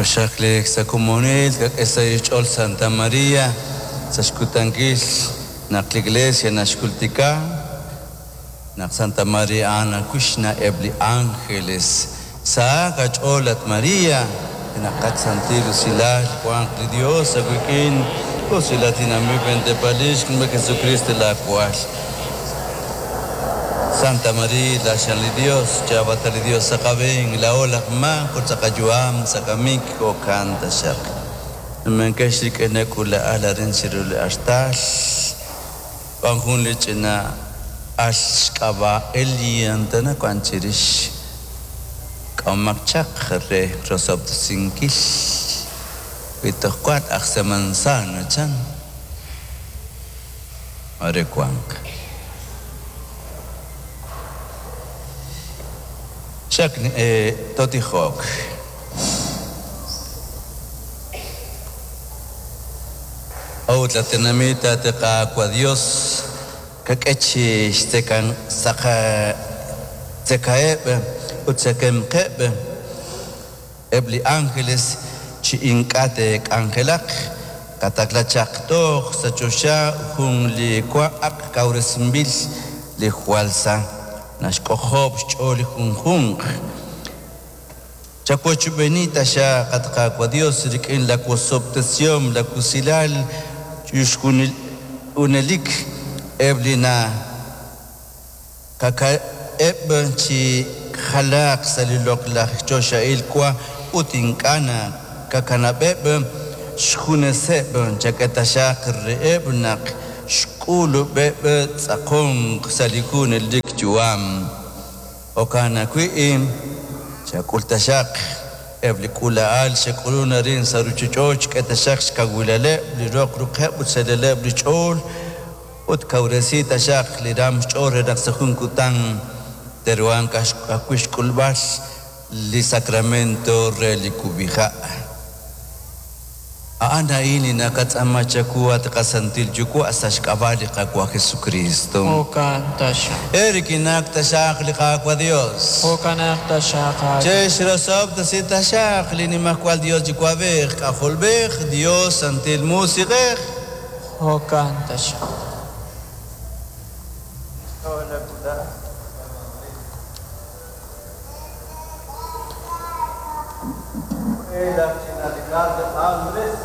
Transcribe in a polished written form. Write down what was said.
Toxaq li sa' komonil kak'e sa' xch'ool Santa Maria sa' xkutankil naq li Iglesia naxjultika naq Santa Maria a'an akuxna eb' li ángeles. Sahaq aach'ool at Maria, naqat santil usilal wanq li Dios awik'in, usilatinami pentepalix ma Jesucristo laakwal. Santa Maria, la xan li Dios, chavata li Dios sa qab'een, laa'o laj maak ut sa qayu'am sa kamik jo'kan taxaq. Numenkex rik'in k'uula'al arin chiru li artal. Wan jun li ch'ina al xk'ab'a' Elian tana wan chirix. K'amomaq chaq re rosob'tesinkil. Wi toj wan aj sa manzana chan. Are wanq. Xaq totijok. A'ut la tenamit at Qaawa' Dios kak'e chi xtzekan saqa tzekaheb' ut tzekemqeb' eb' li ángeles chi ink'a' te'k'anjelaq, kataqla chaq toj sa' choxa jun li wa ak kawresinb'il li jwal sa naxk'ojob' xch'ool li junjunq. Chawochb'eeni taxaq at Qaawa' Dios rik'in la wosob'tesihom la wusilal yuxjunelik eb' li na kaka'eb' chi jalaaq sa' li loq'laj choxahil wa ut ink'a' nakakanab'eb' xjuneseb' chak'e taxaq reheb' naq xk'ulub'eb' tz'aqonq sa' li junelik yu'am. Jo'kan ajwi' chak'ul taxaq eb' li k'uula'al xek'ulun arin sa' ruuchich'och' k'e taxaq xkawilaleb' li roq ruqeb' ut xselaleb' li ch'ool ut kawresi taxaq li raam xch'ool re naq sa' jun kutan teruhanq ajwi' xk'ulb'al li sacramento re li kub'iha'. A'an a'in li naqatz'aama chawu at qasantil Yuwa' sa' xk'ab'a' li Qaawa' Jesucristo. Jo'kan taxaq. Erikinaq taxaq li Qaawa' Dios. Jo'kanaq taxaq aawe. Chexrosob'tesi taxaq li Nimajwal Dios Yuwa'b'ej, K'ajolb'ej, Dios Santil Musiq'ej. Jo'kan taxaq. Andrés.